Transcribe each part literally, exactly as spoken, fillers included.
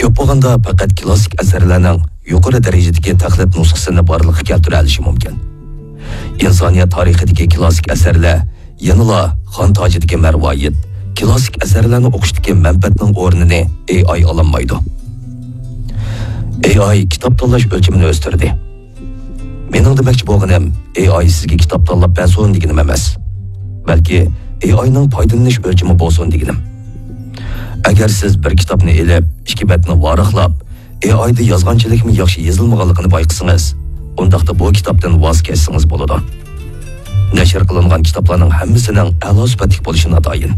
كۆپ بولغاندا پەقەت كلاسسىك ئەسەرلەرنىڭ يۇقىرى دەرىجىدىكى تەقلىد نۇسخىسىنى بارلىققا كەلتۈرەلىشى مۇمكىن. ئىنسانىيەت تارىخىدىكى كلاسسىك ئەسەرلەر يەنىلا خان تاجىدىكى مەرۋايىت، كلاسسىك ئەسەرلەرنى ئوقۇشتىكى مەنپەئەتنىڭ ئورنىنى ئېي ئاي ئالالمايدۇ. ئېي ئاي كىتاب تاللاش ئۆلچىمىنى ئۆستۈردى. مېنىڭ دېمەكچى بولغىنىم، ئېي ئاي سىزگە كىتاب تاللاپ بەرسۇن دېگىنىم ئەمەس. بەلكى ئېي ئاينىڭ پايدىلىنىش ئۆلچىمى بولسۇن دېگىنىم. ئەگەر سىز بىر كىتابنى ئېلىپ، ئىككى بەتنى ۋاراقلاپ، ئېي ئايدا يازغانچىلىكمۇ ياخشى يېزىلمىغانلىقىنى بايقىسىڭىز، ئۇنداقتا بۇ كىتابتىن ۋاز كەچسىڭىز بولىدۇ. نەشر قىلىنغان كىتابلارنىڭ ھەممىسىنىڭ ئەلا سۈپەتلىك بولۇشى ناتايىن.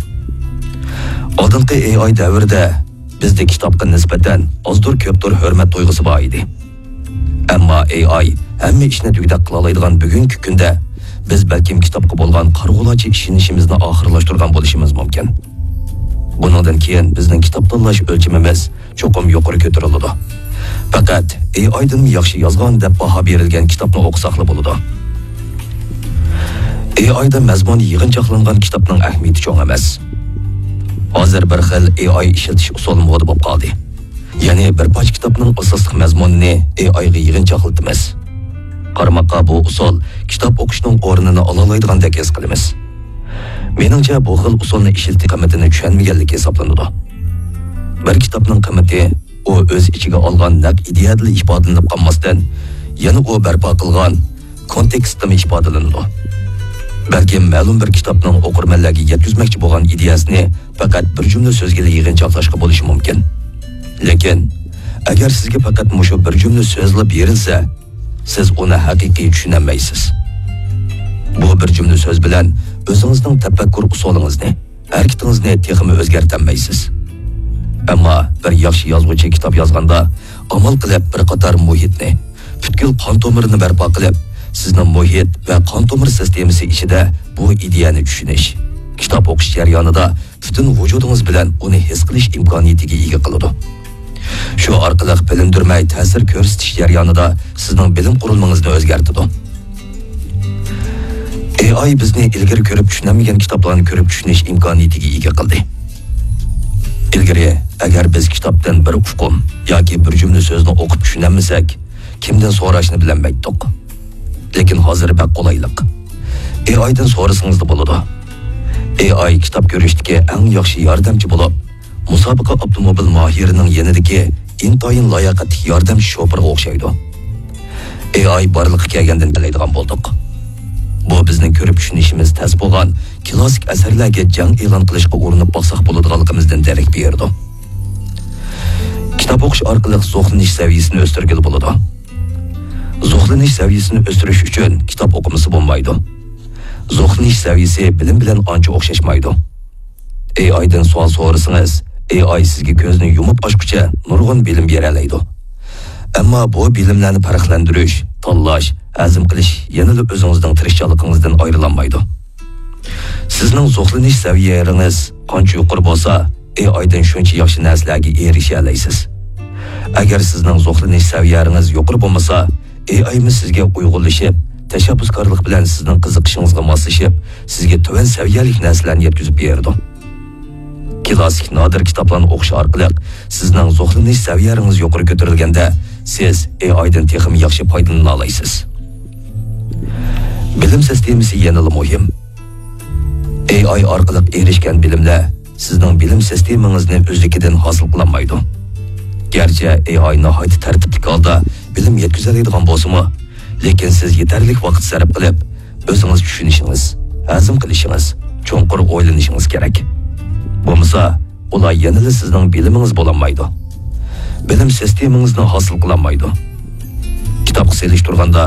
ئالدىنقى ئېي ئاي دەۋرىدە بىزدە كىتابقا نىسبەتەن ئازدۇر كۆپتۇر ھۆرمەت تۇيغۇسى بار ئىدى. ئەمما ئېي ئاي ھەممە ئىشنى دېگۈدەك قىلالايدىغان بۈگۈنكى كۈندە بىز بەلكىم كىتابقا بولغان قارىغۇلارچە ئىشىنىشىمىزنى ئاخىرلاشتۇرغان بولۇشىمىز مۇمكىن. بۇنىڭدىن كېيىن بىزنىڭ كىتاب تاللاش ئۆلچىمىمىز چوقۇم يۇقىرى كۆتۈرۈلىدۇ. پەقەت ئېي ئايدىنمۇ ياخشى يازغان دەپ باھا بېرىلگەن كىتابنى ئوقۇساقلا بولىدۇ. ئېي ئايدا مەزمۇن يىغىنچاقلانغان كىتابنىڭ ئەھمىيىتى چوڭ ئەمەس. ھازىر بىر خىل ئېي ئاي ئىشلىتىش ئۇسۇلى مودا بولۇپ قالدى. يەنى بىر پارچە كىتابنىڭ ئاساسلىق مەزمۇنىنى ئېي ئايغا يىغىنچاقلىتىمىز. قارىماققا بۇ ئۇسۇل كىتاب ئوقۇشنىڭ ئورنىنى ئالالايدىغاندەك ھېس قىلىمىز. مېنىڭچە بۇ خىل ئۇسۇلنى ئىشلىتىش قىممىتىنى چۈشەنمىگەنلىك ھېسابلىنىدۇ. بىر كىتابنىڭ قىممىتى ئۇ ئۆز ئىچىگە ئالغان نەق ئىدىيەدىلا ئىپادىلىنىپ قالماستىن، يەنە ئۇ بەرپا قىلغان كونتېكستتىمۇ ئىپادىلىنىدۇ. بەلكىم مەلۇم بىر كىتابنىڭ ئوقۇرمەنلەرگە يەتكۈزمەكچى بولغان ئىدىيەسىنى پەقەت بىر جۈملە سۆزگىلا يىغىنچاقلاشقا بولۇشى مۇمكىن. لېكىن، ئەگەر سىزگە پەقەت مۇشۇ بىر جۈملە سۆزلا بېرىلسە، سىز ئۇنى ھەقىقىي چۈشىنەلمەيسىز. بۇ بىر جۈملە سۆز بىلەن ئۆزىڭىزنىڭ تەپەككۇر ئۇسۇلىڭىزنى، ھەرىكىتىڭىزنى تېخىمۇ ئۆزگەرتەلمەيسىز. ئەمما بىر ياخشى يازغۇچى كىتاب يازغاندا، ئامال قىلىپ بىر قاتار مۇھىتنى، پۈتكۈل قان تومۇرىنى بەرپا قىلىپ، سىزنىڭ مۇھىت ۋە قان تومۇر سىستېمىسى ئىچىدە بۇ ئىدىيەنى چۈشىنىش، كىتاب ئوقۇش جەريانىدا پۈتۈن ۋۇجۇدىڭىز بىلەن ئۇنى ھېس قىلىش ئىمكانىيىتىگە ئىگە قىلىدۇ. شۇ ئارقىلىق بىلىندۈرمەي تەسىر كۆرسىتىش جەريانىدا سىزنىڭ بىلىم قۇرۇلمىڭىزنى ئۆزگەرتىدۇ. ئېي ئاي بىزنى ئىلگىرى كۆرۈپ چۈشىنەلمىگەن كىتابلارنى كۆرۈپ چۈشىنىش ئىمكانىيىتىگە ئىگە قىلدى. ئىلگىرى، ئەگەر بىز كىتابتىن بىر ئۇقۇم ياكى بىر جۈملە سۆزنى ئوقۇپ چۈشىنەلمىسەك، كىمدىن سوراشنى بىلەلمەيتتۇق. لېكىن ھازىر بەك قولايلىق. ئېي ئايدىن سورىسىڭىزلا بولىدۇ. ئېي ئاي كىتاب كۆرۈشتىكى ئەڭ ياخشى ياردەمچى بولۇپ، مۇسابىقە ئاپتوموبىل ماھىرىنىڭ يېنىدىكى ئىنتايىن لاياقەتلىك ياردەمچى شوپۇرغا ئوخشايدۇ. ئېي ئاي بارلىققا كەلگەندىن كېلەيدىغان بولدۇق. بۇ بىزنىڭ كۆرۈپ چۈشىنىشىمىز تەس بولغان كلاسسىك ئەسەرلەرگە جەڭ ئېلان قىلىشقا ئۇرۇنۇپ باقساق بولىدىغانلىقىمىزدىن دېرەك بېرىدۇ. كىتاب ئوقۇش ئارقىلىق زوقلىنىش سەۋىيىسىنى ئۆستۈرگىلى بولىدۇ. زوقلىنىش سەۋىيىسىنى ئۆستۈرۈش ئۈچۈن كىتاب ئوقۇمىسا بولمايدۇ. زوقلىنىش سەۋىيىسى بىلىم بىلەن ئانچە ئوخشاشمايدۇ. ئېي ئايدىن سوئال سورىسىڭىز، ئېي ئاي سىزگە كۆزنى يۇمۇپ ئاچقۇچە نۇرغۇن بىلىم بېرەلەيدۇ. ئەمما بۇ بىلىملەرنى پەرقلەندۈرۈش، تاللاش، ھەزىم قىلىش يەنىلا ئۆزىڭىزنىڭ تىرىشچانلىقىڭىزدىن ئايرىلالمايدۇ. سىزنىڭ زوقلىنىش سەۋىيەڭىز قانچە يۇقىرى بولسا، ئېي ئايدىن شۇنچە ياخشى نەرسىلەرگە ئېرىشەلەيسىز. ئەگەر سىزنىڭ زوقلىنىش سەۋىيەڭىز يۇقىرى بولمىسا، ئېي ئايمۇ سىزگە ئۇيغۇنلىشىپ، تەشەببۇسكارلىق بىلەن سىزنىڭ قىزىقىشىڭىزغا ماسلىشىپ، سىزگە تۆۋەن سەۋىيەلىك نەرسىلەرنى يەتكۈزۈپ بېرىدۇ. كلاسسىك نادىر كىتابلارنى ئوقۇش ئارقىلىق سىزنىڭ زوقلىنىش سەۋىيەڭىز يۇقىرى كۆتۈرۈلگەندە، سىز ئېي ئايدىن تېخىمۇ ياخشى پايدىلىنالايسىز. بىلىم سىستېمىسى يەنىلا مۇھىم. ئېي ئاي ئارقىلىق ئېرىشكەن بىلىملەر سىزنىڭ بىلىم سىستېمىڭىزنى ئۆزلۈكىدىن ھاسىل قىلالمايدۇ. گەرچە ئېي ئاي ناھايىتى تەرتىپلىك ھالدا بىلىم يەتكۈزەلەيدىغان بولسىمۇ، لېكىن سىز يېتەرلىك ۋاقىت سەرپ قىلىپ، ئۆزىڭىز چۈشىنىشىڭىز، ھەزىم قىلىشىڭىز، چوڭقۇر ئويلىنىشىڭىز كېرەك. بولمىسا، ئۇلار يەنىلا سىزنىڭ بىلىمىڭىز بولالمايدۇ. بىلىم سىستېمىڭىزنى ھاسىل قىلالمايدۇ. كىتابقا سېلىشتۇرغاندا،